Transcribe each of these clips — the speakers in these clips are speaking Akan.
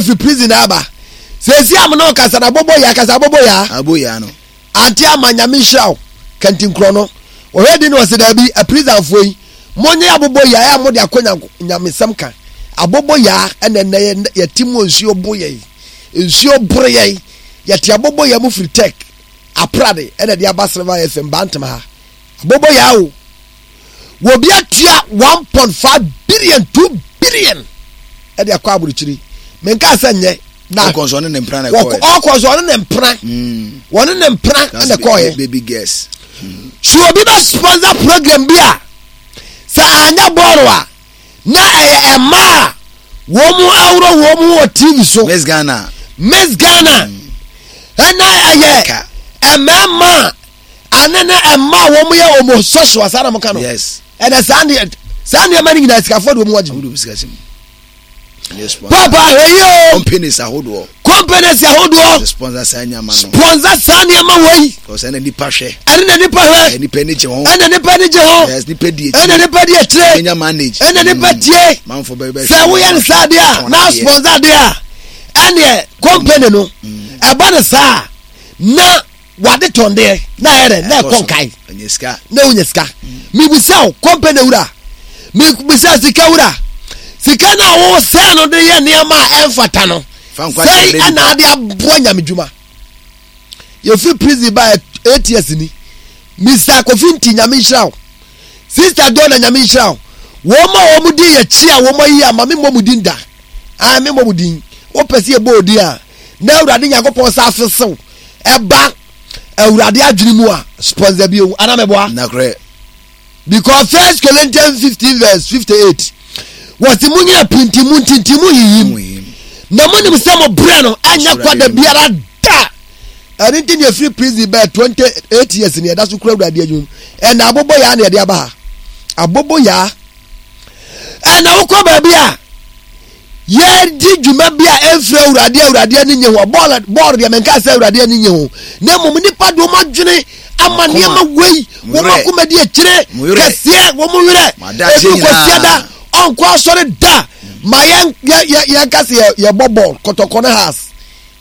yɛfiri prison na aba. Seesei a me ne wo kasa no, aboboyaa, kasa aboboyaa. Aboyaa no. Ante ama Nyame nhyira wo. Kantinkorɔ no. Wɔhwɛ din no wɔse daabi, aprisonfoɔ yi, monyɛ aboboyaa a mode akɔ nyamesɛm ka. Aboboyaa ɛna ɛnɛ yɛte mu nsuo bo yɛn. Nsuo boro yɛn. Yɛte aboboyaa mu firi Tech, Aprade ɛna ɛde aba Silver FM Bantam ha. Aboboyaa o. Wɔbi atua 1.5 billion, 2 billion ɛde akɔ aburukyiri. Menkaa sɛ nyɛ. Na ɔkɔ nso ɔne ne mpena na ɛkɔɛ. Ɔkɔ nso ɔne ne mpena. Wɔne ne mpena na ɛkɔɛ. Baby girls. So obi bɛ sponsor program bi a sɛ anyɛ bɔɔlo a na ɛyɛ mmaa a wɔn mu ahorow wɔn mu wɔ TV so. Miss Ghana. Miss Ghana. Ɛna ɛyɛ mmarima ane ne mmaa a wɔn yɛ homosexual saa na mo ka no. Yes. Ɛna saa nneɛma no nyinaa sikafoɔ de wɔn agye. Papa ahwɛ yie o. Companies ahodoɔ. Companies ahodoɔ. Sponsor saa nneɛma no. Sponsor saa nneɛma wɔ yi. Kɔsɛ ɛna nipa hwɛ. Ɛne na nipa hwɛ. Ɛna nipa ani gye ho. Ɛna nipa ani gye ho. Yes nipa di akyire. Ɛna nipa di akyire. Ɛnya manage. Ɛna nipa tie. Manfo bɛ bɛ. Sɛ woyɛ ne saa deɛ a na sponsor deɛ a ɛneɛ company no ɛba ne saa na. Wade tɔn deɛ na ayɛ dɛ na ɛkɔ nkae na wonya sika. Mebisa wo kɔmpani wura, mebisa sika wura, sika no a wosɛn no de yɛ nneɛma a ɛmfata no, sɛn ɛna ade aboa nyame dwuma. Yɛfiri prison ba 8 years ni. Mr. Kofi Nti nyame nhyira wo. Sister Donna nyame nhyira wo. Wɔn a wɔn di yɛkyi a wɔn ayi ama me mmɔ mu din da. Ah, me mmɔ mu din. Wopɛ sɛ yɛbɔ odin a, na Awurade Nyankopɔn sa afesew ɛba Awurade adwene mu a sponsor bi ewu ana mɛboa. Nakorɛ. Because First Corinthians 15 verse 58 wɔsi mu nyina pinti mu ntinti mu yiyim na mo nim sɛ mo brɛ no ɛnyɛ kwa da biara da. Ɛno nti na efiri prison bɛɛ 28 years ni ɛda so kura Awurade adwuma mu ɛna abobo yaa na ɛde aba ha abobo yaa ɛna wokɔ baabi a yɛredi dwuma bi a ɛmfiri Awurade a Awurade ani nye ho. Bɔɔl bɔɔl deɛ menka sɛ Awurade ani nye ho, na mmom nnipa de wɔn adwene ama nneɛma wei, wɔn akoma di akyire kɛseɛ, wɔn werɛ ebi kɔsia da ɔnkɔ asɔre da ma yɛn yɛ yɛn ka sɛ yɛbɔ bɔɔl kɔtɔkɔ ne has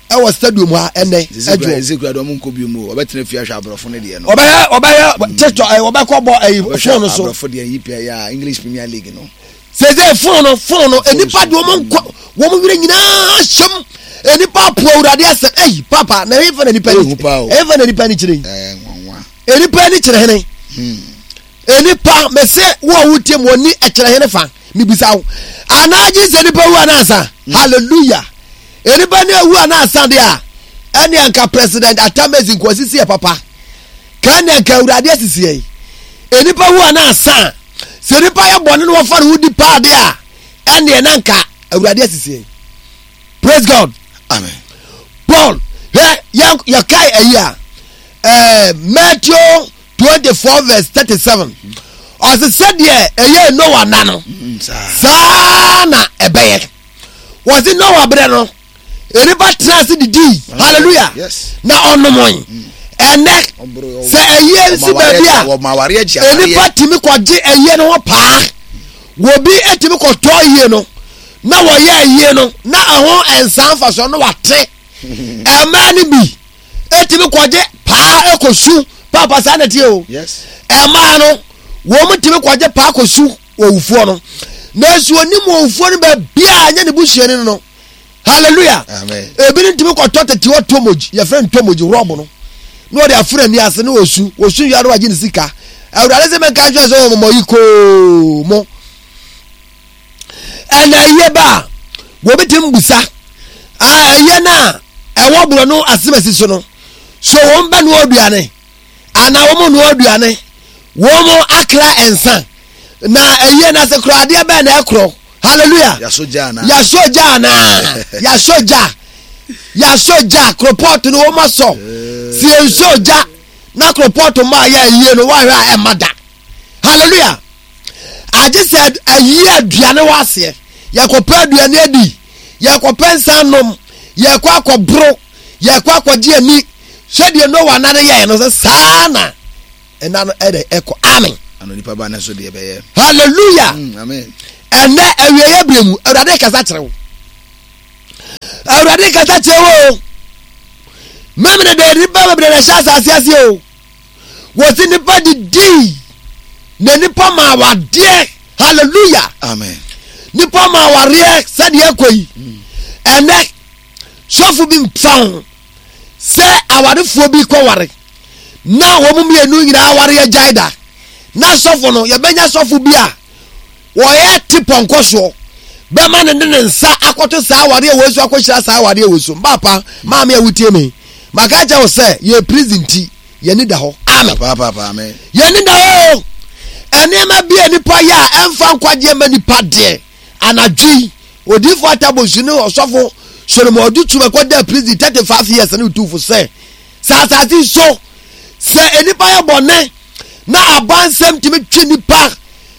ɛwɔ stadium ha ɛnɛ ɛdwo. Ɛsɛ kura de ɔmo nkɔ bi mu ɔbɛtena fie ahwɛ aborɔfo no deɛ no. Ɔbɛyɛ ɔbɛyɛ tiktok ɛ ɔbɛkɔ bɔ ɛyi phone so. Aborɔfo deɛ yi pɛ ya English Premier League no. Sese phone no phone no nipa de wɔn nkɔ wɔn werɛ nyinaa hyɛm nipa apo awurade asɛm ɛyi papa na ɛyɛ fɛ na nipa ni ɛyɛ fɛ na nipa ni kyerɛ yi nipa ni kyerɛ hene nipa mɛsɛ wo a wotie mu wɔni ɛkyerɛ hene fa mibisa wo anaa gye sɛ nipa wu anaasa hallelujah nipa ni ewu anaasa deɛ a ɛne anka president atamezi nkwasisi yɛ papa kan ne anka awurade asisi yɛ nipa wu anaasa. Sɛ nipa yɛ bɔne na wɔfa ne ho di paa deɛ a, ɛnneɛ na nka Awurade asisi yɛn. Praise God. Amen. Paul, hwɛ yɛn yɛkae ayi a, ɛɛ Matthew 24 verse 37. Ɔse sɛdeɛ ɛyɛ Noah na no, saa na ɛbɛyɛ. Wɔse Noah berɛ no, nnipa tena ase didii hallelujah na ɔnomoe mm. ɛnɛ sɛ ɛyie nsi baabi a nnipa tumi kɔgye ɛyie no ho paa wɔbi tumi kɔtɔ yie no na wɔyɛ ɛyie no na ɛho nsa mfasoɔ no wate ɛmaa no bi ɛtumi kɔgye paa ɛkɔsu paapa saa na tie o ɛmaa no wɔn tumi kɔgye paa kɔsu owufoɔ no nanso onim owufoɔ no baabiaa nyɛ ne busuani no hallelujah ebi ne ntumi kɔtɔ tete hɔ tomogy yɛfrɛ no tomogy rɔb no na ɔde aforo ani ase na ɔsu ɔsu wia na wagye ne sika awurade sɛ menka nkyerɛ sɛ ɔmɔmɔ yi koo mo ɛna ɛyɛ ba a wɔbɛtumi busa ɛyɛ no a ɛwɔ borɔ no asemasi so no so wɔn bɛ noa aduane anaa wɔn noa aduane wɔn akra nsa na ɛyɛ no ase koraa adeɛ bɛn na ɛkorɔ Hallelujah. Yasɔ gya anaa? Yasɔ gya anaa? Yasɔ gya. Yasɔ gya. Koropɔɔto no wɔn asɔ. Si nsɔ gya na koropɔɔto mma ayɛ ayie no wɔahwɛ a ɛmma da. Hallelujah. Agye sɛ ayie aduane wɔ aseɛ. Yɛkɔpɛ aduane adi. Yɛkɔpɛ nsa nom. Yɛkɔ akɔboro. Yɛkɔ akɔgye ani. Sɛdeɛ Noa nane yɛɛ no sɛ saa na ɛna no ɛdɛ ɛkɔ amen. Ano nipa ba ne so deɛ bɛyɛ. Hallelujah. Amen. Ɛnɛ awieɛ berɛ mu awurade kasa kyerɛ wo. Awurade kasa kyerɛ wo o. Memene deɛ nnipa bebree na ɛhyɛ asase ase o. Wɔsi nnipa didii na nnipa ma awadeɛ. Hallelujah. Amen. Nnipa ma awareɛ sɛdeɛ ɛkɔ yi. Ɛnɛ sɔfo bi mfa ho sɛ awarefoɔ bi kɔware na wɔn mmienu nyinaa aware agyae da na sɔfo no yɛbɛnya sɔfo bi a wɔyɛ te pɔnkɔ soɔ bɛma no de ne nsa akɔto saa awareɛ wei so akɔhyira saa awareɛ wei so mbaapa maame a wotie me maka kyɛ wo sɛ yɛ prison ti yɛni da hɔ amen yɛni da hɔ nneɛma bi a nipa yɛ a ɛmfa nkwagyeɛ ma nipa deɛ anadwo yi odiifo atabosu ne ɔsɔfo solomon ɔde tum ɛkɔ da prison 35 years ne tufo sɛ sɛ asase so sɛ nipa yɛ bɔne na abansɛm tumi twe nipa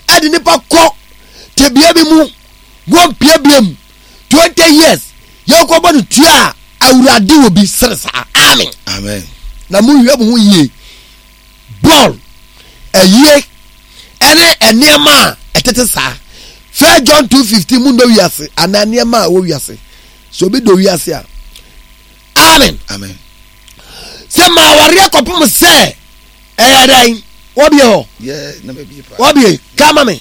ɛde nipa kɔ tebea bi mu wɔmpie mu 20 years yɛkɔbɔ no tua a awurade wɔ bi sere saa amen amen na monhwɛ mo ho yie bɔɔl ayie ɛne nneɛma a ɛtete saa First John 2:15 mu nnɔ wiase anaa nneɛma a ɛwɔ wiase sɛ obi dɔ wiase a amen amen sɛ ma awareɛ kɔpem sɛ ɛyɛ dɛn wɔbie hɔ wɔbie kae ma me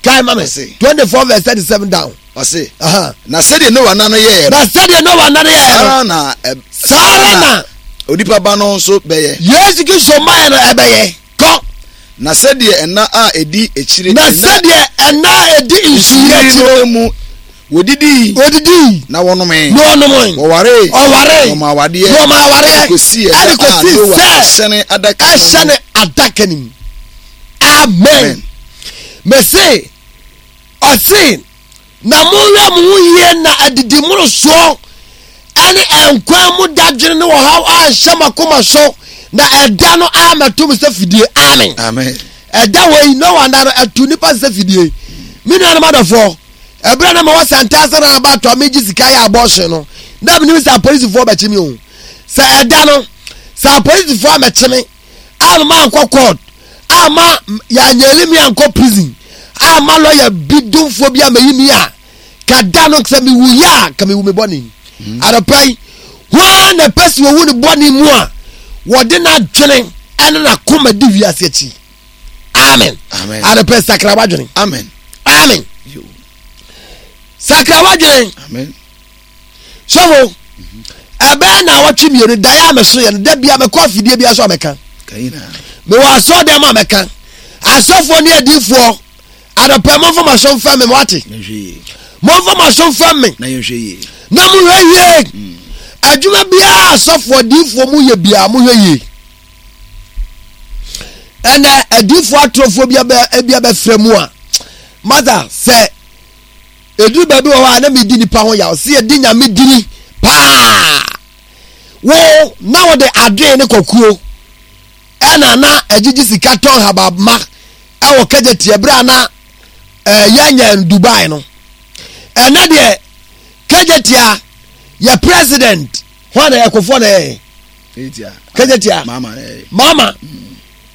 kae ma me 24 verse 37 down ɔse na sɛdeɛ noa nna no yɛɛ na sɛdeɛ noa nna no yɛɛ no saa ara na onipa ba no nso bɛyɛ yesu kristo mmaeɛ no ɛbɛyɛ kɔ na sɛdeɛ ɛna a ɛdi akyire na sɛdeɛ ɛna a ɛdi nsuyire akyi no mu Wɔdidii. Wɔdidii. Na wɔnomee. Na wɔnomee. Wɔwaree. Wɔwaree. Na wɔmaa awadeɛ. Na wɔmaa awareɛ. Ɛde kɔsii ɛda a Noa hyɛne adaka no mu. Ɛhyɛne adaka no mu. Amen. Mese, ɔse, na monhwɛ mo ho yie na adidi mmorosoɔ ɛne nkwa mu dadwene ne ɔhaw anhyɛ mo akoma so na ɛda no ammɛto mo sɛ fidie. Amen. Amen. Ɛda wei Noa nna no ɛto nipa sɛ fidie. Me nuanom adɔfoɔ. Ɛberɛ a na mewɔ Santase roundabout a megye sika yɛ abortion no, na menim sɛ apolisifoɔ bɛkye me o. Sɛ ɛda no, sɛ apolisifoɔ ammɛkye me, amma mankɔ court, amma yɛanyɛli me ankɔ prison, amma lɔya bi domfoɔ bi ammɛyi me a, ka da no sɛ mewuyɛ a, ka mewu me bɔne mu. Mm. Anɔpa yi, hwan na ɛpɛ sɛ wɔwu ne bɔne mu a wɔde n'adwene ɛne n'akoma di wiase akyi? Amen. Amen. Anɔpa sakra w'adwene. Amen. Amen. Sakra w'adwene. Amen. Sɔfo, ɛbɛyɛ na awɔtwe mmienu daeɛ a meso yɛ no da bia mekɔ afidie bia so a mɛka. Mewɔ asɔ dɛm a mɛka. Asɔfoɔ ne adiifoɔ anɔpɛ momfa mo aso mfɛm me moate. Momfa mo aso mfɛm me. Na mohwɛ yie. Mm. Adwuma biara asɔfoɔ adiifoɔ mu yɛ biara mohwɛ yie. Ɛnɛ adiifoɔ atorofoɔ bi abɛfrɛ mu a masa sɛ ɛduru baabi wɔ hɔ a na medi nipa ho yaw sɛ yɛdi nyame dini paa wo na wɔde adwene ne kɔkuo ɛna na agyigye sika tɔn habama ɛwɔ kagya tiɛ berɛ a na yɛnyɛ Dubai no ɛnɛ deɛ kagya tia yɛ president hɔ na ɛkofoɔ na ɛyɛ kagya tia mama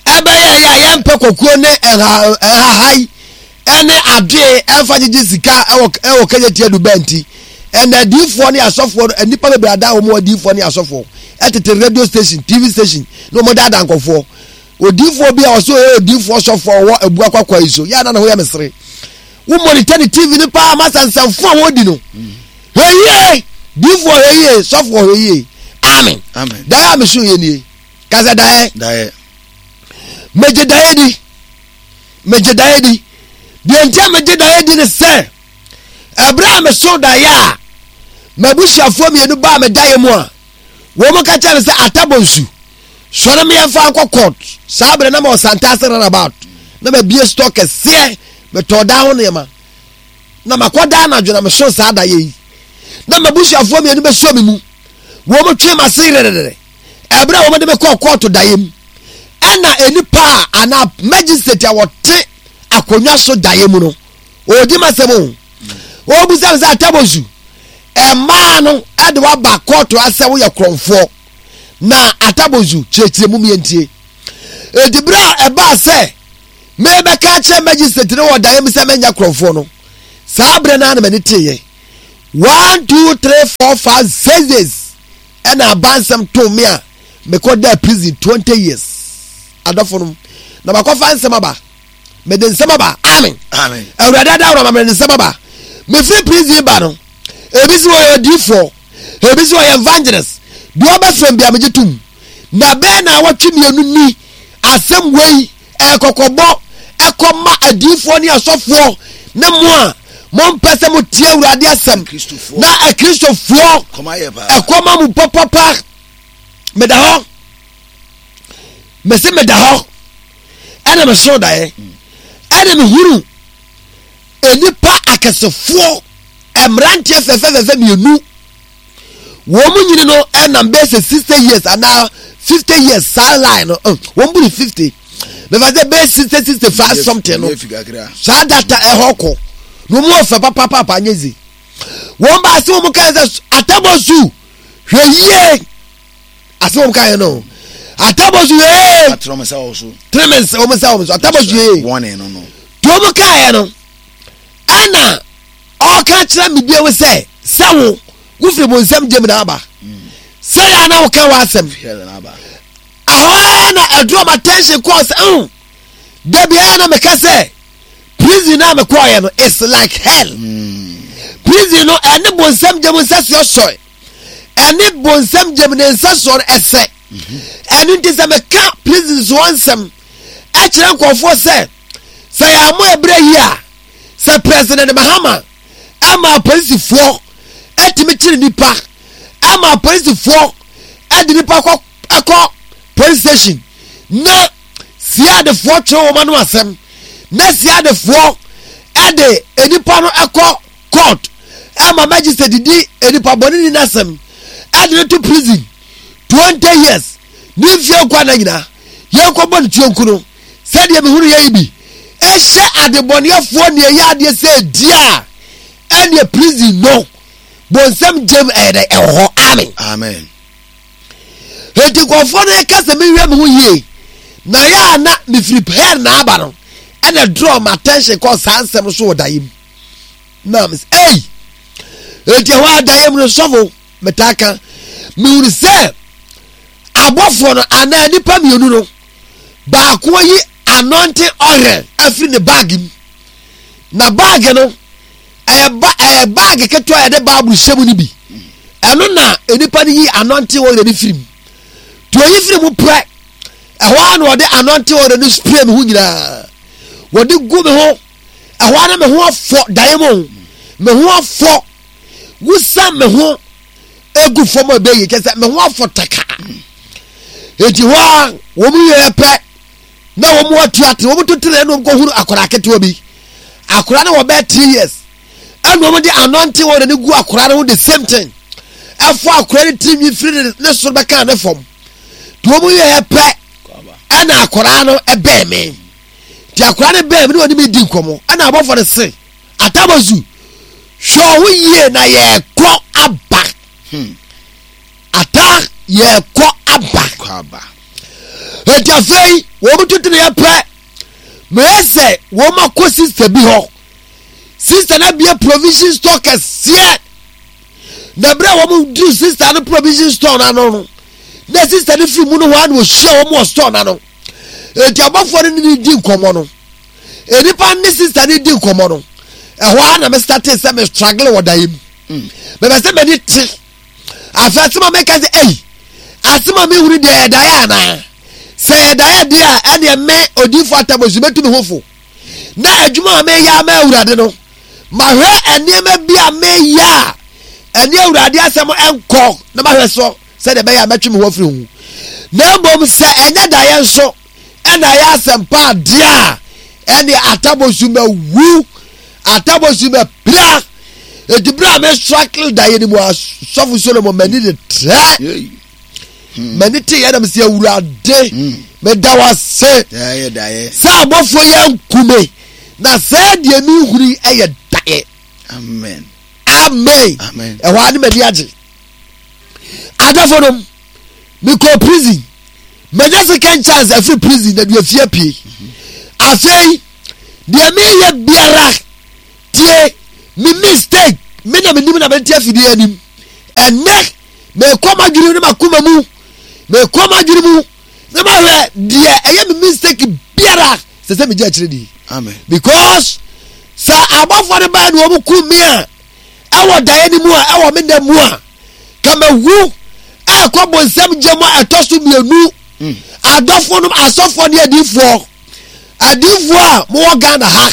ɛbɛyɛ yɛ a yɛmpɛ kɔkuo ne ɛnhahai ɛne adoe ɛmfa gyegye sika ɛwɔ ɛwɔ kagya tia Dubai nti ɛna adiifoɔ ne asɔfoɔ no nnipa bebree ada wɔn adiifoɔ ne asɔfoɔ ɛtete radio station tv station na wɔn daadaa nkɔfoɔ odiifoɔ bi a ɔsɛ ɔyɛ odiifoɔ sɔfoɔ ɔwɔ abua kwakwa yi so yɛ ana ne ho yɛ mesere wo monitor ne tv no paa ma sansanfo a wɔdi no hwɛ yie diifoɔ hwɛ yie sɔfoɔ hwɛ yie amen daeɛ a meso yɛ nie kasa daeɛ megye daeɛ di megye daeɛ di deɛ nti a megye daeɛ di ne sɛ ɛberɛ a meso daeɛ a m'abusuafoɔ mmienu baa me daeɛ mu a wɔn ka kyerɛ me sɛ atabɔ nsu sɔre me yɛmfa nkɔ court saa berɛ na ma ɔsantase runabout na mabie store kɛseɛ metɔɔ daa ho nneɛma na makɔ daa anadwo na meso saa daeɛ yi na m'abusuafoɔ mmienu bɛsɔ me mu wɔn mo twe m'ase yerɛrɛrɛ ɛberɛ a wɔn de me kɔɔ kɔɔto daeɛ mu ɛna nnipa a anaa magistrate a wɔte akonnwa so daeɛ mu no ɔredi m'asɛm o ɔrebisa me sɛ atabosu mmaa no ɛde waba kɔɔto asɛ woyɛ korɔmfoɔ na atabozu kyerɛkyerɛ mu mientie edi bere a ɛbaa sɛ mebɛka akyerɛ magistrate no wɔ daeɛ mu sɛ menyɛ korɔmfoɔ no saa berɛ no ara na m'ani teeɛ. 1 2 3 4 5 6 days ɛna abansɛm too me a mekɔ da prison 20 years. Adɔfo nom, na makɔfa nsɛm aba. Mede nsɛm aba. Amen. Amen. Awurade adaworo ma mede nsɛm aba. Mefiri prison ba no, ebi si wɔyɛ odiifoɔ, ebi si wɔyɛ evangelist. Deɛ ɔbɛfrɛ m bia megye tom. Na bɛɛ na awɔtwe mmienu ni asɛm wei ɛkɔkɔbɔ ɛkɔma adiifoɔ ne asɔfoɔ ne mo a mompɛ sɛ motie Awurade asɛm na akristofoɔ ɛkɔma mo papapa. Meda hɔ, mese meda hɔ ɛna mesoo daeɛ ɛna mehunu nnipa akɛsefoɔ mmeranteɛ fɛfɛfɛfɛ mmienu. Wɔn mu nyini no ɛnam bɛyɛ sɛ 60 years anaa 50 years saa line no wɔn buru 50 bɛfa sɛ bɛyɛ 60 65 something no saa data ɛhɔ kɔ na wɔn wɔ fɛ papaapa anyɛ zi. Wɔn ba ase wɔn kan sɛ atabɔsu hwɛ yie. Ase wɔn kan yɛ no atabɔsu hwɛ yie. Tẹrɛ nsa wɔ so. Tẹrɛ nsa wɔn nsa wɔn so atabɔsu hwɛ yie. Tí wɔn kan yɛ no ɛna ɔka kyerɛ mi bio sɛ sɛ wo wofiri mo nsɛm gyem na aba sɛ yɛ ana woka w'asɛm ahɔ na ɛdurɔ ma attention kɔɔ sɛ ɛho dabi ɛyɛ na meka sɛ prison na mekɔɔyɛ no it's like hell. Prison no ɛne bonsɛm gyem nsɛsoɔ sɔe ɛne bonsɛm gyem ne nsɛsoɔ no ɛsɛ. Ɛno nti sɛ meka prison soɔ nsɛm ɛkyerɛ nkurɔfoɔ sɛ sɛ yɛammɔ ɛberɛ yi a sɛ President Mahama ɛma apolisifoɔ ɛtumi kyere nipa ɛma apolisifoɔ ɛde nipa kɔ ɛkɔ police station na siadefoɔ twere wɔn ano asɛm na siadefoɔ ɛde nipa no ɛkɔ court ɛma magistrate di nipa bɔne ni n'asɛm ɛde no to prison 20 years ne mfie nkwa na nyinaa yɛnkɔ bɔ ne tuo nku no sɛdeɛ mehunu yɛ yi bi ɛhyɛ adebɔneɛfoɔ ne ɛyɛ adeɛ sɛ ɛdi a ɛneɛ prison no bonsɛm gyem ɛyɛ dɛ ɛwɔ hɔ. Amen. Amen. Enti nkurɔfoɔ no ɛka sɛ menhwɛ me ho yie na yɛ a na mefiri hell na aba no ɛna draw my attention kɔ saa nsɛm no so wɔ daeɛ mu na mesɛ ei enti ɛhɔ a daeɛ mu no sɔfo metaa ka mehunu sɛ abɔfoɔ no anaa nnipa mmienu no baako ayi anointing oil afiri ne baage mu na baage no ɛyɛ ba ɛyɛ baage ketewa yɛde baabu hyɛ mu no bi ɛno na nnipa no yi anointing oil no firi mu tí oyi firi mu pɛ ɛhɔ ara na wɔde anointing oil no spray me ho nyinaa wɔde gu me ho ɛhɔ ara na me ho afɔ daeɛ mu me ho afɔ wusa me ho egu fam a ɛbɛyɛ kyɛ sɛ me ho afɔ taka eti hɔ a wɔn yɛ pɛ na wɔn atu ate wɔn to tere ɛna wɔn kɔ huru akwadaa ketewa bi akwadaa no wɔ bɛyɛ 3 years ɛna wɔn de anointing oil no gu akwadaa no ho the same thing ɛfɔ akwadaa no tiri nwi firi ne ne soro bɛka ne fam te wɔn yɛ pɛ ɛna akwadaa no ɛbɛn me te akwadaa no bɛn me na wɔne me di nkɔmɔ ɛna abɔfo no se atabazu hwɛ ɔho yie na yɛkɔ aba. Ata yɛkɔ aba. Eti afei wɔn tutu ne yɛ pɛ meyɛ sɛ wɔn akɔ sista bi hɔ. Sista no abie provision store kɛseɛ na berɛ a wɔn duru sista no provision store no ano no na sista no firi mu no hɔ a na wɔhyia wɔn wɔ store no ano. Eti abɔfoɔ no ne ne di nkɔmmɔ no nnipa ne sista no di nkɔmmɔ no ɛhɔ a na me starte sɛ me struggle wɔ daeɛ mu. Mepɛ sɛ m'ani te afei asɛm a meka sɛ ei asɛm a mehunu deɛ ɛyɛ daeɛ anaa sɛ ɛyɛ daeɛ deɛ a ɛneɛ me odiifo atabosu mɛtu me ho fo na adwuma a meyɛ ama awurade no mahwɛ nneɛma bi a meyɛ a ɛne awurade asɛm nkɔ na mahwɛ so sɛdeɛ ɛbɛyɛ a mɛtwe me ho afiri ho na mmom sɛ ɛnyɛ daeɛ nso ɛna ɛyɛ asɛmpa adeɛ a ɛne atabosu mɛwu atabosu mɛpira eti bere a mesrakle daeɛ no mu asɔfo Solomon m'ani de trɛ. M'ani te yɛ na mesɛ awurade meda wo ase sɛ abɔfoɔ yɛ nkume na sɛ deɛ mehunu yi ɛyɛ daeɛ. Amen. Amen. Ɛhɔ a ne m'ani agye. Adɔfo nom mekɔ prison manya second chance afiri prison na deɛ fie pie. Afei deɛ meyɛ biara tie me mistake. Me na menim na mente afidie anim. Ɛnnɛ, mekɔ m'adwene ne m'akoma mu. Mekɔ m'adwene mu na mahwɛ deɛ ɛyɛ me mistake biara sɛ sɛ megye akyerɛ di. Amen. Because sɛ abɔfoɔ no baa na wɔn kum me a, ɛwɔ daeɛ no mu a, ɛwɔ me nna mu a, ka mawu ɛkɔ bonsam gya mu a ɛtɔ so mmienu. Adɔfoɔ nom, asɔfoɔ ne adiifoɔ. Adiifoɔ a mowɔ Ghana ha,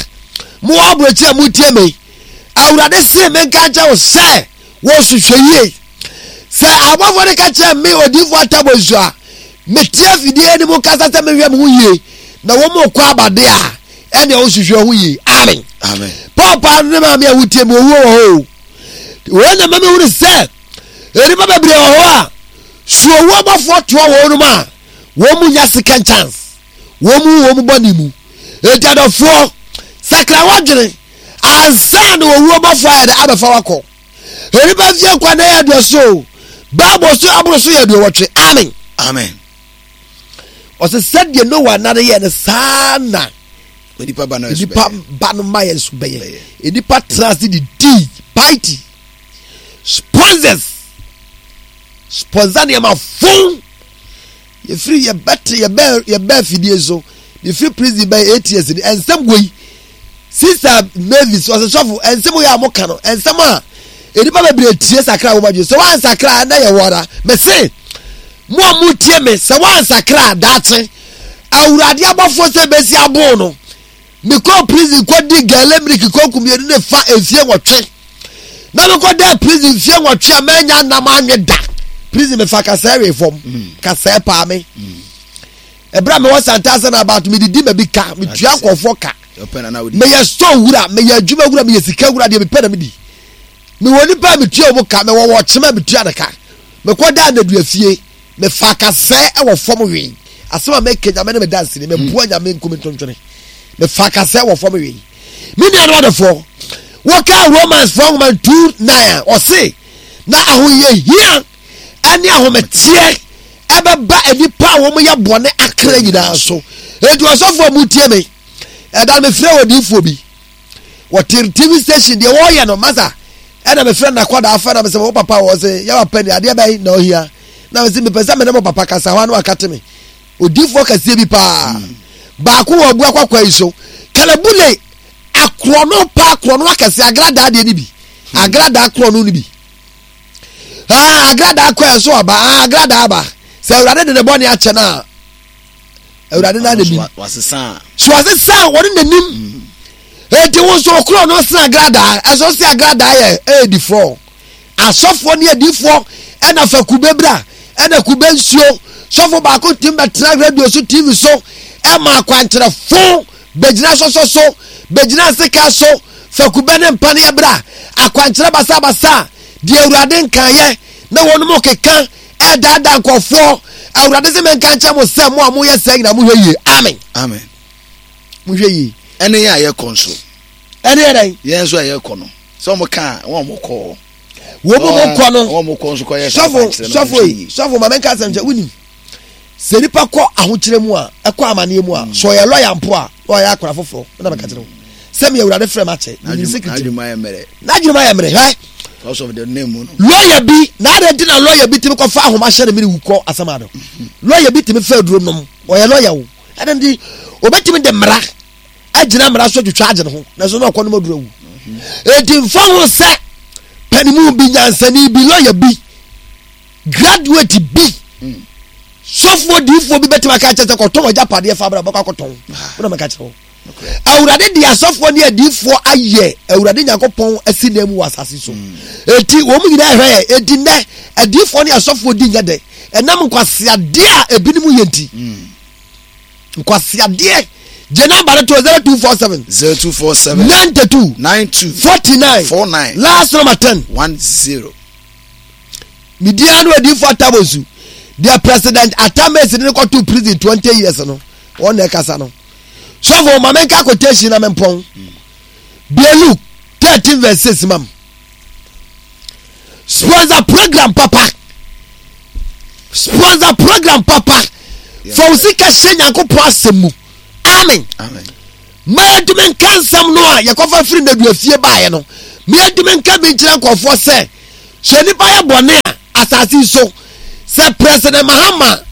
mowɔ aburokyire a motie me, Awurade se menka nkyerɛ wo sɛ wɔnhwehwɛ yie. Sɛ abɔfoɔ no ka kyerɛ me odiifoɔ Atabonsu a mete afidie no mu kasa sɛ menhwɛ me ho yie na wɔn kɔ abade a, ɛnea wɔnhwehwɛ ho yie. Amen. Amen. Paapa ne maame a wotie me, owuo wɔ hɔ o. Wei na ma mehunu sɛ nnipa bebree wɔ hɔ a so owuo abɔfoɔ toa wɔn nom a wɔn mu nya second chance. Wɔn mu wɔn bɔne mu. Enti adɔfoɔ, sakra w'adwene ansa na owuo bɔfoɔ ayɛ dɛ abɛfa wakɔ. Nnipa mfie nkwa na yɛ aduɔso o. Bible so aboro so yɛ aduɔwɔtwe. Amen. Amen. Ɔsɛ sɛdeɛ Noa nna no yɛ no saa na Onipa ba no nso nipa bɛyɛ. ba no ma yɛ nso bɛyɛ. Nipa tena ase de dii party sponsors sponsor nneɛma fon. Yɛfiri yɛbɛte yɛbɛ yɛbɛ afidie so mefiri prison bɛyɛ 8 years ni ɛnsɛm wei sister Mavis ɔsɛ sɔfo ɛnsɛm wei a mo ka no ɛnsɛm a nnipa bebree tie sakra wɔn adwene sɛ wɔn ansakra na yɛ wɔra mese mo a mo tie me sɛ wɔn ansakra daakye awurade abɔfoɔ sɛ bɛsi abo no. Mekɔɔ prison kɔdii gɛlɛ miliki kɔnku mmienu ne fa mfie nwɔtwe. Na mekɔdaa prison mfie nwɔtwe a manya nam anwe da. Prison mefa kasɛɛ wee fam. Kasɛɛ paa me. Ɛberɛ a mewɔ Santase na about medidi ma bi ka, metua nkurɔfoɔ ka. Meyɛ store wura, meyɛ adwuma wura, meyɛ sika wura, deɛ mepɛ na medi. Mewɔ nipa a metua wɔn ka, mewɔ wɔkyema a metua ne ka. Mekɔdaa nnadua fie. Mefaa kasɛɛ wɔ fam wee. Asɛm a meka Nyame ne me danseni, meboa Nyame nku me ntontwene. Mefaa kasɛɛ wɔ fam wee. Me nuanom adɔfoɔ, wɔkaa Romans foɔ nwoma 2 9 a, ɔse, na ahohiahia ne ahometeɛ ɛbɛba nnipa a wɔyɛ bɔne akra nyinaa so. Enti ɔsɔfoɔ a motie me, ɛda no mefrɛ odiyifoɔ bi. Wɔte TV station deɛ wɔyɛ no masa ɛna mefrɛ no nakɔda afɛ na mesɛ wo papa wɔ sɛ yɛ papa ni adeɛ bɛn na ɔhia na mesɛ mepɛ sɛ mene mo papa kasa hɔ ano akate me odifoɔ kɛseɛ bi paa baako wɔ abu akwakwa yi so kalabule akorɔno pa akorɔno akɛseɛ agradaa deɛ no bi agradaa korɔno no bi ah agradaa kɔ ɛso aba ah agradaa aba sɛ awurade de ne bɔne akyɛ no a awurade na n'anim so wasesa wɔne n'anim mm. eti wo nso okuro no sena agradaa ɛso se agradaa yɛ ɛyɛ fɔ asɔfoɔ ne adiifoɔ ɛna fa kube bra ɛna kube nsuo sɔfo baako tim bɛtena radio so tv so ɛma akwankyerɛ fo bɛgyina sɔsɔ so bɛgyina sika so fa kube ne mpaneɛ bra akwankyerɛ basabasa deɛ awurade nkaeɛ na wɔn mo keka ɛredaadaa nkurɔfoɔ. Awurade sɛ menka nkyerɛ mo sɛ mo a moyɛ saa nyinaa mohwɛ yie. Amen. Amen. Mohwɛ yie. Ɛne yɛn a yɛkɔ nso. Ɛne yɛ dɛn? Yɛn nso a yɛkɔ no. Sɛ wɔn ka a, wɔn a wɔkɔ. Wɔn mu kɔ no. Wɔn mu kɔ nso kɔ yɛ saa sɔfo sɔfo yi sɔfo maame nka asɛm kyɛ wonim sɛ nipa kɔ ahokyerɛ mu a ɛkɔ amaneɛ mu a sɛ ɔyɛ lɔya mpo a na ɔyɛ akora foforɔ na mɛka kyerɛ wo sɛ meyɛ awurade frɛ makyɛ menim secret n'adwene ayɛ mmerɛ hwɛ lɔya bi na adɛn nti na lɔya bi tumi kɔfa ahoma hyɛ ne mene wu kɔ asɛm ado lɔya bi tumi fa aduro nom ɔyɛ lɔya o ɛdɛn nti obɛtumi de mmara agyina mmara so atwitwa agye ne ho na so na ɔkɔ nom aduro awu enti mfa ho sɛ panimu bi nyansani bi lɔya bi graduate bi sɔfoɔ diifoɔ bi bɛtumi aka kyerɛ sɛ kɔtɔn agyapadeɛ fa bra bɛkɔ akɔtɔn wona mɛka kyerɛ wo awurade de asɔfoɔ ne adiifoɔ ayɛ awurade nyankopɔn asi dan mu wɔ asase so mm. enti wɔn mu nyinaa hwɛ yɛ enti nnɛ adiifoɔ ne asɔfoɔ di nyɛ dɛ ɛnam nkwaseadeɛ a ebinom yɛ nti mm. nkwaseadeɛ gye namba no to 0247 0247 92 92 49 49 last number 10 10 Ne din ara ne Odiyifo Atta Bonsu. Deɛ President Atta Mills de no kɔtoo prison 20 years no, wɔn na ɛkasa no. Sɔfo, ma menka quotation na mempɔn. Bie Luke 13 verse 6 mam. Sponsor program papa. Sponsor program papa. Fa wo sika hyɛ Nyankopɔn asɛm mu. Amen. Amen. Ma yɛntumi nka nsɛm no a yɛkɔfa firi nnaduafie baeɛ no. Meɛntumi nka bi nkyerɛ nkurɔfoɔ sɛ, sɛ nnipa yɛ bɔne a, asase yi so, sɛ President Mahama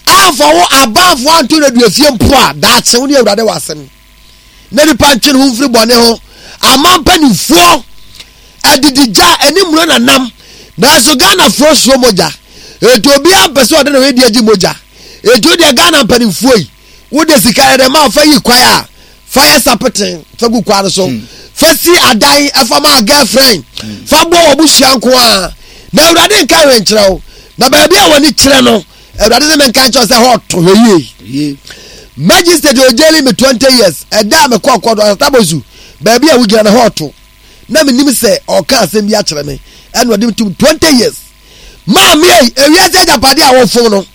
amfa wo abanfoɔ anto no aduafie mpo a, daakye wo ne Awurade wɔ asɛm. Na nipa ntwe ne ho mfiri bɔne ho. Aman mpanimfoɔ adidigya ɛne mmuro na nam. Nanso Ghanafoɔ suro mogya. Enti obiara mpɛ sɛ ɔde ne ho adi agye mogya. Enti wo deɛ Ghana mpanimfoɔ yi, wode sika yɛ dɛ ma fa yi kwan a, fa yɛ sapeten fa gu kwan no so. Fa si adan fa ma girlfriend. Fa boa w'abusua nko ara. Na Awurade nka hwee nkyerɛ wo. Na baabi a w'ani kyerɛ no, Awurade sɛ menka nkyerɛ wo sɛ hɔ ɔto hwɛ yie. Magistrate ogyeli me 20 years. Ɛda a mekɔɔ kɔɔto Asatabosu, baabi a wogyina no hɔ ɔto. Na menim sɛ ɔka asɛm bi akyerɛ me. Ɛna ɔde me tom 20 years. Maame ei, ewiase agyapadeɛ a wɔfom no,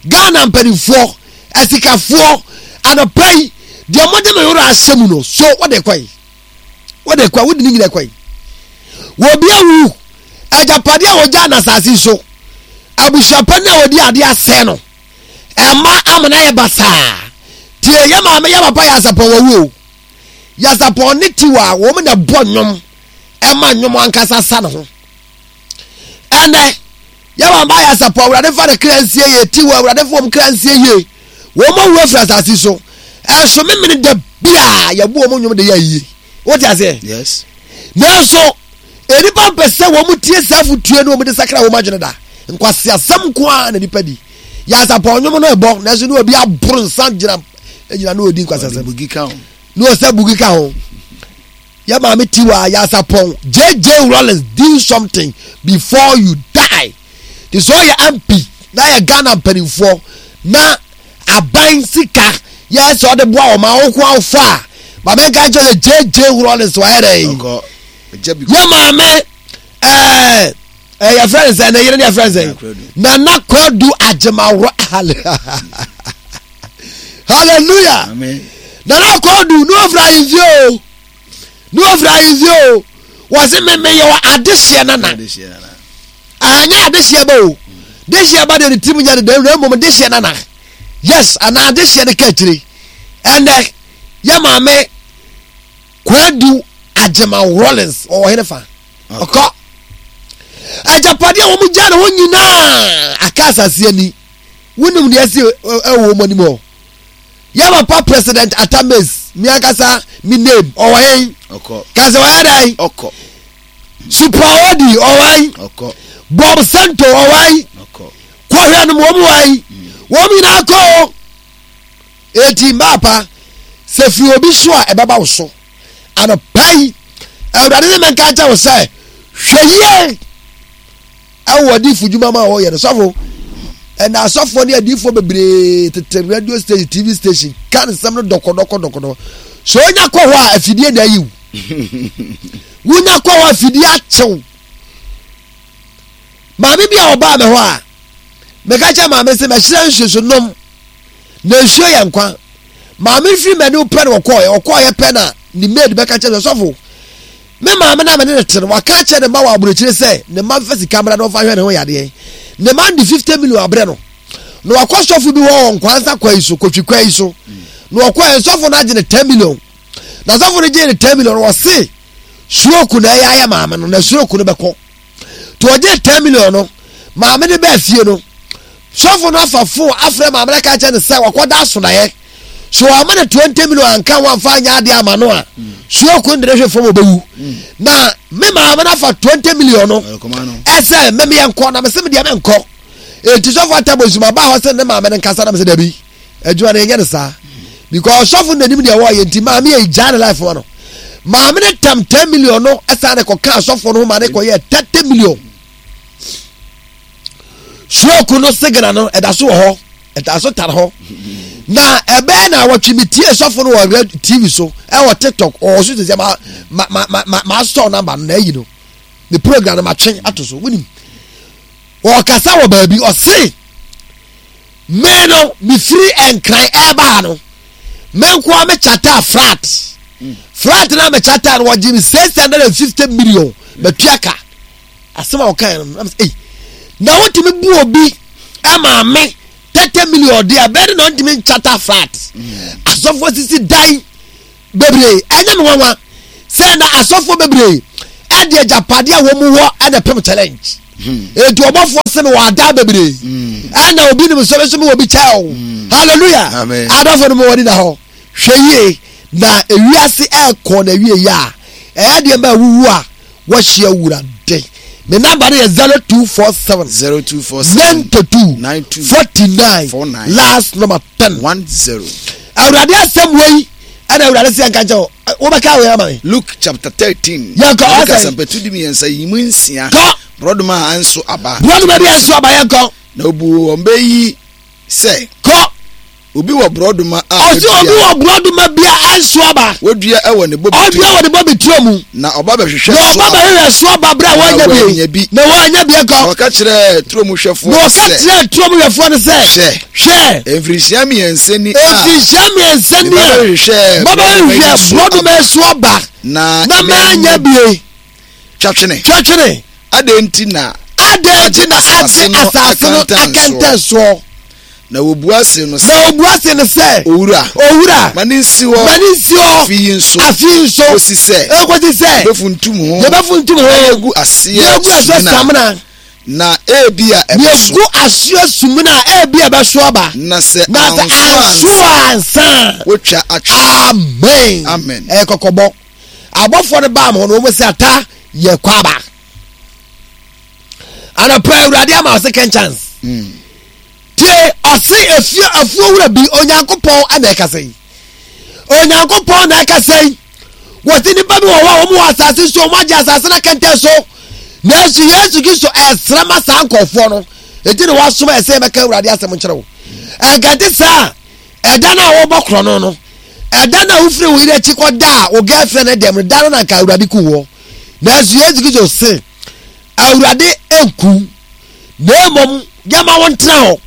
Ghana mpanimfoɔ, asikafoɔ, anɔpa yi, deɛ mode me werɛ ahyɛ mu no, so wode kɔ yi? Wode kɔ, wode ne nyina kɔ yi? Wɔbi awu, agyapadeɛ a wɔgyaa no asase so, abusuapani a wɔdi adeɛ asɛe no, ɛma amena yɛ basaa. Tie, yɛ maame, yɛ papa yɛ asapɔn wɔwu o. Yasapɔn ne tiwa, wɔn na ɛbɔ nnwom, ɛma nnwom ankasa sa ne ho. Ɛnɛ, yɛ maame ayɛ asapɔ, Awurade fa ne kra nsie yie, ti wɔ Awurade fa wɔn kra nsie yie. Wɔn awu afiri asase so. Ɛnso memene da bia yɛbu wɔn nnwom de yɛ ayie. Wote aseɛ? Yes. Nanso, nnipa mpɛ sɛ wɔn tie saa afotuo ne wɔn de sakra wɔn adwene da. Nkwaseasɛm nko ara na nnipa di. Yɛ asapɔ nnwom no ɛbɔ, nanso ne obi aboro nsa gyina gyina ne odi nkwaseasɛm. Ne ɔsɛ bugi ka ho. Yɛ maame Tiwa Yasapɔn JJ Rawlings do something before you die. Te sɛ ɔyɛ MP na yɛ Ghana mpanimfoɔ na aban sika yɛ sɛ ɔde boa wɔn a woko afa a maame nka nkyɛn sɛ JJ Rawlings wɔyɛ dɛ. Yɛ maame ɛɛ ɛɛ yɛfrɛ no sɛ ne yere ne yɛfrɛ no sɛ Nana Kwadu Agyemaworo hallelujah nana akɔdu ne ofura ahemfie o ne ofura ahemfie o wɔsi me me yɛ wɔ adehyeɛ nana anyɛ adehyeɛ ba o dehyeɛ ba deɛ ne tirim nyɛ ne dɛ na mmom dehyeɛ nana yes anaa adehyeɛ ne ka akyire ɛnɛ yɛ maame Kwadu Agyema Rawlings ɔwɔ hene fa ɔkɔ agyapadeɛ a wɔn gya ne ho nyinaa aka asase ani. Wonim deɛ ɛsi ɛwɔ wɔn anim hɔ. Yɛ papa President Atta Mills, mi ankasa mi name, ɔwɔ hen? Ɔkɔ. Ka sɛ ɔyɛ dɛn? Ɔkɔ. Supra Odi, ɔwɔ hen? Ɔkɔ. Bob Sento, ɔwɔ hen? Ɔkɔ. Kɔhwɛ nom, wɔn wɔ hen? Wɔn nyinaa kɔ o. Eti mmaapa, sɛ firi obi so a ɛbɛba wo so. Anɔpa yi, Awurade ne menka nkyɛ wo sɛ, hwɛ yie. Ɛwɔ adiifo dwuma ma wɔyɛ no sɔfo. Ɛna asɔfoɔ ne adiifoɔ bebree tete radio station, TV station ka nsɛm no dɔkɔdɔkɔ dɔkɔdɔ. So onya kɔ hɔ a afidie na ayiw. Wonya kɔ hɔ afidie akyew. Maame bi a ɔbaa me hɔ a meka kyerɛ maame sɛ mɛhyerɛ nsuo so nom na nsuo yɛ nkwa. Maame firi m'anim pɛ na ɔkɔɔɛ ɔkɔɔyɛ pɛ na ne maid bɛka kyerɛ sɛ sɔfo Me maame no a me ne no te no, waka akyerɛ ne mma wɔ aburokyire sɛ ne mma mfa sika mmra na ɔmfa nhwɛ ne ho yadeɛ. Ne mma no de 50 million abrɛ no. Na wakɔ sɔfo bi hɔ wɔ Nkwansa kwa yi so, Kotwi kwa yi so. Na ɔkɔɛ, sɔfo no agye ne 10 million. Na sɔfo no gyee ne 10 million, ɔse stroke na ɛyɛ ayɛ maame no, na stroke no bɛkɔ. Nti ɔgyee 10 million no, maame no baa fie no, sɔfo no afa fon afrɛ maame no aka akyerɛ no sɛ wakɔda asonaeɛ. So ama no 20 million anka ho amfa anyɛ adeɛ ama no a, stroke no de ne hwe fam ɔbɛwu. Na me maame no afa 20 million no ɛsɛ mɛmeyɛ nkɔ na mesɛ medeɛ menkɔ. Enti sɔfo atabo nsuma baa hɔ sɛ ne maame no nkasa na mesɛ dabi. Adwuma no yɛnyɛ no saa because ɔsɔfo no nanim deɛ wɔyɛ nti maame yɛ gyaa ne life ma no. Maame no tam 10 million no ɛsan ne kɔka asɔfo no ho ma ne kɔyɛ 30 million. Stroke no signal no ɛda so wɔ hɔ ɛda so tare hɔ na ɛbɛyɛ na awɔtwe mi tie sɔfo no wɔ red tv so ɛwɔ tiktok ɔwɔ so sɛ ma ma ma ma ma ma asɔ namba no na ayi no ne program no ma twe ato so wonim ɔkasa wɔ baabi ɔse Me no mefiri Nkran ɛreba ha no, me nkoa me charter flat. Flat na me charter no wɔgye me 650 million matua ka. Asɛm a wɔkae no, na mesɛ, ei, na wotumi bu obi ɛma me 30 million deɛ bɛyɛ de na ɔntumi nkyata flat. Asɔfoɔ sisi dan bebree, ɛnyɛ me nwanwa sɛ na asɔfoɔ bebree. ɛde agyapadeɛ a wɔn wɔ ɛna pem challenge. Eti ɔbɔfoɔ se me wɔ adaa bebree. Ɛna obi nim sɛ me wɔ bi kyɛ o. Hallelujah. Adɔfo no mo wɔ ni na hɔ. Hwɛ yie na ewiase ɛkɔ na wie yɛ a ɛyɛ deɛ ma awuwu a wɔahyia awurade. Me namba no yɛ 0247 0247 92 49 49 last number 10. 10. Awurade asɛm wei ɛna awurade sɛ yɛnka nkyɛ wo. Wobɛka wei ama me. Luke chapter 13. Yɛnkɔ, Luke ɔsɛ. asɛmpatu di mmiɛnsa yi mu nsia. Kɔ. Borɔdoma a ɛnso aba. Borɔdoma bi ɛnso aba yɛnkɔ. Na obu wɔn bɛ yi sɛ. Kɔ. Obi wɔ borɔdoma a Ɔsi obi wɔ borɔdoma bi a ɛnso aba. Wadua wɔ ne bobe Ɔdua wɔ ne bobe turo mu. Na ɔba bɛhwehwɛ Na so ɔba aba. bɛhwehwɛ so aba berɛ a Na wɔanya wannya bi. bi. Na wɔanya bi Na nkɔ. ɔka kyerɛɛ turo mu hwɛfoɔ Na no ɔka sɛ. kyerɛɛ turo mu hwɛfoɔ no sɛ. Hwɛ. Hwɛ. Mfirinhyia mmiɛnsa ni a. Mfirinhyia mmiɛnsa ni a. Meba bɛhwehwɛɛ Maba borɔdoma yi bɛhwehwɛ so borɔdoma aba. yi so aba. Na Na manya bie. Twa twene. Twa twene. Adɛn nti na. Adɛn nti na agye asase no akɛntɛn soɔ? Na wɔbua see no sɛ. Na wɔbua see no sɛ. Owura. Owura. Ma ne nsi hɔ. Ma ne nsi hɔ. Afe yi nso. Afe yi nso. Kɔsi sɛ. Kɔsi sɛ. Yɛbɛfuntum ho. Yɛbɛfuntum ho. Na yɛagu aseɛ Na yɛagu aseɛ samina. Na ebia ɛbɛso. Yɛgu aseɛ sumina a ebia ɛbɛso aba. Na sɛ Na sɛ anso ansa. Wotwa atwe. Amen. Amen. Ɛyɛ kɔkɔbɔ. Abɔfoɔ no baa mo hɔ no wɔn sɛ ata yɛ kɔ aba. Anɔpa Awurade ama second chance. Tie ɔse efie afuo wura bi Onyankopɔn na ɛkasa yi. Onyankopɔn na ɛkasa yi. Wɔte nipa bi wɔ hɔ a wɔn wɔ asase so wɔn agye asase no akɛntɛn so. Nanso Yesu Kristo ɛsrɛ ma saa nkurɔfoɔ no. Eti na wasoma ɛsɛ yɛbɛka Awurade asɛm nkyerɛ wo. Ɛnkɛnte saa ɛda no a wɔbɔ korɔ no no ɛda no a wofiri wo yere akyi kɔda a wo girlfriend no dɛm no da no na nka Awurade ku wɔ. Nanso Yesu Kristo se Awurade nku na mmom yɛma wo ntena hɔ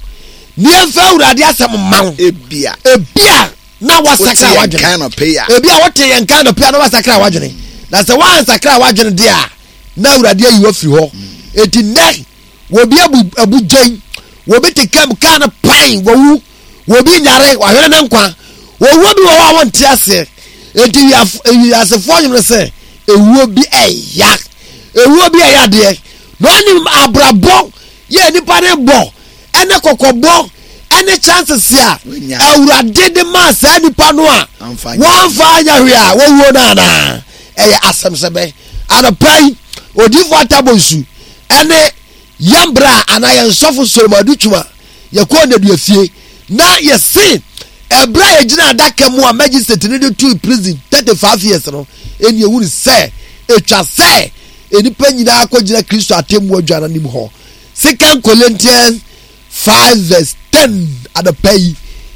na yɛmfa Awurade asɛm mma wo. Ebia. Ebia na wasakra w'adwene. Ebia wote yɛn nka anɔpɛ a na wasakra w'adwene. Na sɛ woansakra w'adwene deɛ a na Awurade ayi wo afiri hɔ. Enti nnɛ wɔbi abu abu gyɛn, wɔbi te kam kaa no pan wɔwu, wɔbi nyare wahwere ne nkwa. Owuo bi wɔ hɔ a wɔnte aseɛ. Enti wiasefoɔ nwom no sɛ ewuo bi ɛya. Ewuo bi ɛyɛ adeɛ. Na ɔnim abrabɔ yɛ nipa ne bɔ ɛne kɔkɔbɔ ɛne chances a awurade de maa saa nipa no a wɔamfa anya hwee a wɔwuo no anaa ɛyɛ asɛm sɛ bɛ anɔpa yi odiyifoɔ atabonsu ɛne yɛn bra anaa yɛn sɔfo Solomon Adutwuma yɛkɔɔ nnadua fie na yɛse ɛberɛ a yɛgyina adaka mu a magistrate no de tui prison 35 years no ɛni ehunu sɛ ɛtwa sɛ nnipa nyinaa kɔgyina Kristo atemmu adwa no anim hɔ. Second Corinthians 5 verse 10 anɔpa yi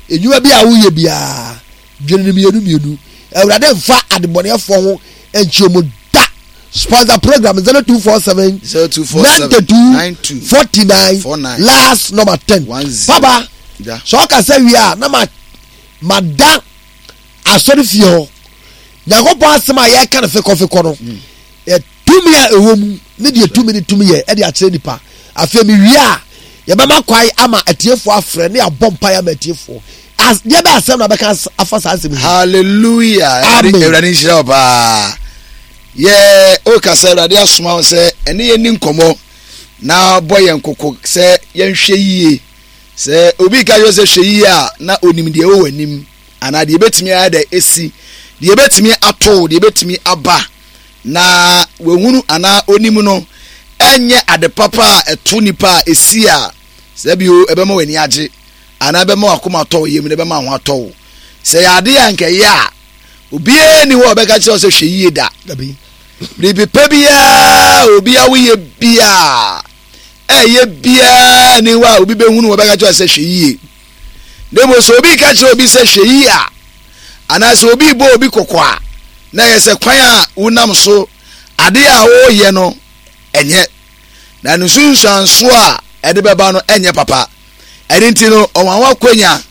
nnwuma bi a woyɛ biara dwene no mmienu mmienu. Awurade mfa adebɔneyɛfoɔ ho nkyerɛ mu da. Sponsor program 0247 0247 92 49 49 last number 10. 10. Papa, sɛ ɔkasa wie a na ma mada asɔre fie hɔ nyankopɔn asɛm a yɛka no fekɔfekɔ no mm. tumi a ɛwɔ mu ne deɛ tumi no tumi yɛ ɛde akyerɛ nipa afei mewie a yɛbɛma kwae ama atiefoɔ afrɛ ne abɔ mpaeɛ ama atiefoɔ deɛ bɛ asɛm na bɛka afa saa asɛm yi hallelujah amen awurade nhyira wo paa yɛ woka sɛ awurade asoma wo sɛ ɛne yɛni nkɔmmɔ na bɔ yɛn koko sɛ yɛnhwɛ yie sɛ obi ka kyerɛ sɛ hwɛ yie a na onim deɛ ɛwɔ w'anim anaa deɛ ɛbɛtumi ayɛ dɛ ɛsi deɛ ɛbɛtumi ato deɛ ɛbɛtumi aba na wahunu anaa onim no ɛnyɛ ade papa a ɛto nipa a ɛsi a sɛ bio ɛbɛma w'ani agye anaa ɛbɛma w'akoma atɔ wo yam na ɛbɛma ho atɔ wo sɛ yɛ ade a nkɛyɛ a obiara ni hɔ a ɔbɛka kyerɛ wo sɛ hwɛ yie da biribi pa biara obi a woyɛ biara ɛyɛ biara ni hɔ a obi bɛhunu wɔbɛka kyerɛ sɛ hwɛ yie na mmom sɛ obi ka kyerɛ obi sɛ hwɛ yie a anaasɛ obi bɔ obi kɔkɔ a na ɛyɛ sɛ kwan a wonam so ade a wɔreyɛ no ɛnyɛ na ne nsunsuanso a ɛde bɛba no ɛnyɛ papa ɛne nti no ɔwanwa kwanya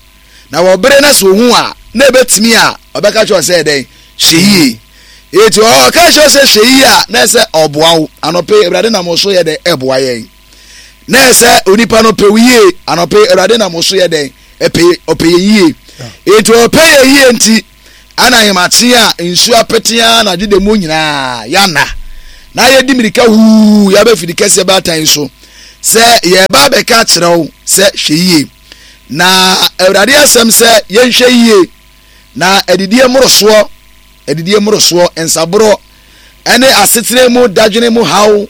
na wɔbere na sɛ ohu a na ebetumi a ɔbɛka kyerɛ sɛ ɛdɛn hwɛ yie eti ɔka kyerɛ sɛ hwɛ yie a na ɛsɛ ɔboa wo anɔpɛ awurade nam so yɛ dɛ ɛboa yɛn na ɛsɛ onipa no pɛ wo yie anɔpɛ awurade nam so yɛ dɛn ɛpɛ ɔpɛ yɛ yie eti ɔpɛ yɛ yie nti ana ahemakye a nsuo apete a na adwene mu nyinaa yana. Na yɛdi mmirika huu yɛaba fidi kɛseɛ baatan yi so sɛ yɛreba abɛka akyerɛ wo sɛ hwɛ yie. Na Awurade asɛm sɛ yɛnhwɛ yie na adidie mmorosoɔ, adidie mmorosoɔ, nsaborɔ, ɛne asetena mu dadwene mu haw,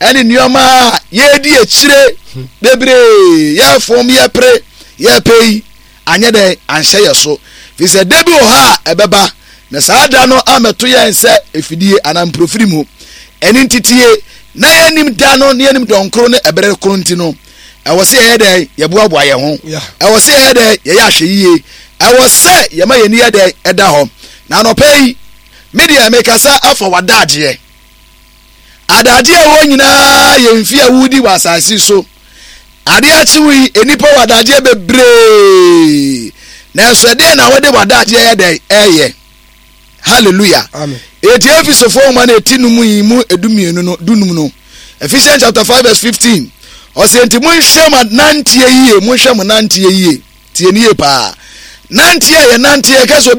ɛne nneɛma a yɛredi akyire bebree, yɛfom, yɛpere, yɛpɛ yi, anyɛ dɛn anhyɛ yɛ so firi sɛ da bi wɔ hɔ a ɛbɛba na saa da no ammɛto yɛn sɛ efidie anaa mprofiri mu ɛne ntitie na yɛnim da no ne yɛnim dɔnkoro ne ɛberɛ koro nti no ɛwɔ sɛ yɛyɛ dɛn yɛboaboa yɛn ho ɛwɔ sɛ yɛyɛ dɛn yɛyɛ ahwɛ yie ɛwɔ sɛ yɛma yɛn ani yɛ dɛn ɛda hɔ na anɔpa yi me deɛ mekasa afa w'adagyeɛ adagyeɛ a ɛwɔ nyinaa yɛ mfe a wodi wɔ asase so Ade akye wo yi, nnipa wɔ adagyeɛ bebree. Nanso ɛdeɛn na wode w'adagyeɛ yɛ dɛn ɛyɛ? Hallelujah. Amen. Eti Efesofoɔ nwoma no eti num yi mu edumienu no dunum no. Ephesians chapter 5 verse 15. Ɔsɛ nti monhwɛ mo nanteɛ yie, monhwɛ mo nanteɛ yie. Tie ne yie paa. Nanteɛ yɛ nanteɛ kɛsɛ.